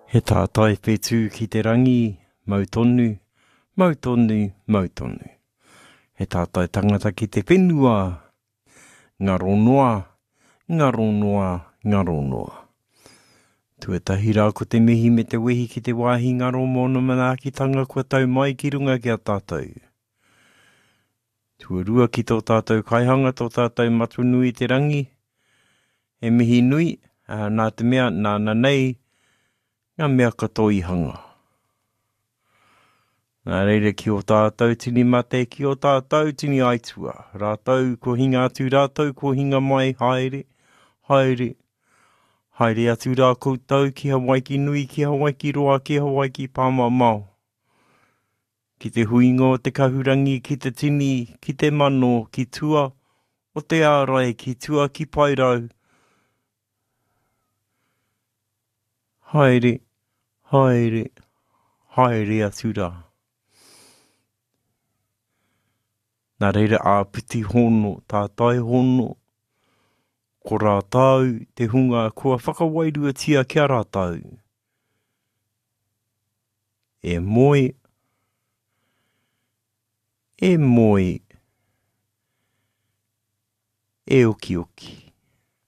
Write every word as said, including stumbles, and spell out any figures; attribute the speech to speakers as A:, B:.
A: He tātai whetū ki te rangi, mau tonu, mau tonu, mau tonu. He tātai tangata ki te whenua, ngaro noa, ngaro noa, ngaro noa. Tuatahi rā ko te mihi me te wehi ki te wāhi ngaro mōna manaakitanga kua tau mai ki runga ki a tātou. Tuarua ki tō tātou kaihanga, tō tātou Matua nui i te rangi, he mihi nui, nā te mea nāna nei ngā mea katoa i hanga. Nā reira ki ō tātou tini mate, ki ō tātou tini aitua, rātou ko hinga atu, rātou ko hinga mai, haere, haere, haere atu rā koutou ki Hawaiki nui, ki Hawaiki roa, ki Hawaiki pāmamao. Ki te huinga o te kahurangi, ki te tini, ki te mano, ki tua o te ārai, ki tua ki Paerau. Haere, haere, haere atu rā. Nā reira āpiti hono, tātai hono, ko rātou te hunga kua whakawairuatia ki a rātou. E moe, e moe, e okioki.